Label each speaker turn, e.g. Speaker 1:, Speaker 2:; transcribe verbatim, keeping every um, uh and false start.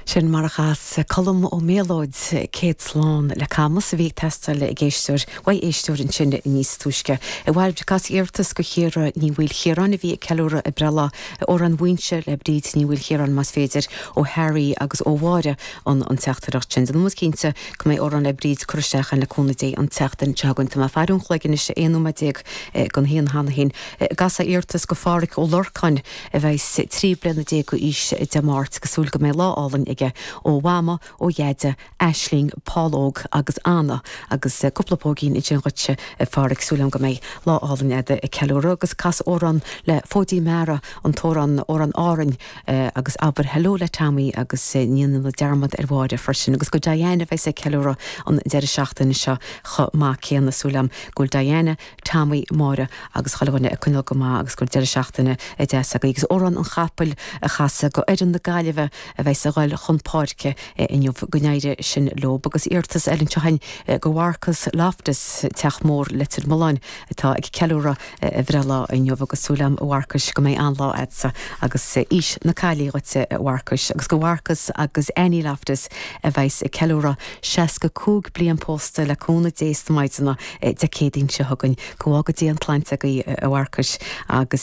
Speaker 1: Sin mar a chas Colm Ó Méalóid céad slán le Camus a bhí teastáil ag éisteoir uaidh éisteoir ansin níos túisce. I bhfad cas iarratas go Chiara Ní Mhaoilchiaráin a bhí ag ceiliúradh a breithlá amhrán Mhuínse le Bríd Ní Mhaoilchiaráin más féidir ó Harry agus ó Mháire an an teachtaireacht sin. Déanfaidh muid cinnte go mbeidh amhrán le Bríd curtha isteach le cúnamh Dé an tseachtain seo chugainn. Tá mé ag faire an chloig anois aon nóiméad déag don haon cheana féin. Casadh iarratas go Pháraic Ó Lorcáin a bheidh trí bliana déag d'aois Dé Máirt agus súil go mbeidh lá álainn aige ó Mhama ó Dheaide Aisling Paul Óg agus Anna agus eh, cúpla póigín ansin dhuitse Pháraic súil go mbeidh lá álainn agat ag ceiliúradh agus cas amhrán le Fóidí Meara an t-amhrán amhrán Árainn eh, agus abair hello le Tommy agus eh, ní na dearmad ar Mháire freisin agus go Diana bheidh ag ceiliúradh an deireadh seachtaine seo chomh maith céanna súil agam go bhfuil Diana Tommy Máire agus chuile dhuine ag coinneáil go maith agus gur deireadh seachtaine deas agaibh agus amhrán an chapaill a chasadh go fhoireann na Gaillimhe a bheidh ag dul chun páirce inniu go n-éirí sin leo agus iarratas eile anseo go Mharcus Loftus Teach Mór Leitir Mealláin atá ag ceiliúradh a bhreithlá inniu agus súil agam a Mharcais go mbeidh an-lá agatsa agus aois na caillí dhuitse Mharcais agus go Mharcus agus Annie Loftus a bheidh ag ceiliúradh seasca cúig bliain pósta le cúnamh Dé sna maighdeana Dé Céadaoin seo chugainn go bhfága Dia an tsláinte agaibh a Mharcais agus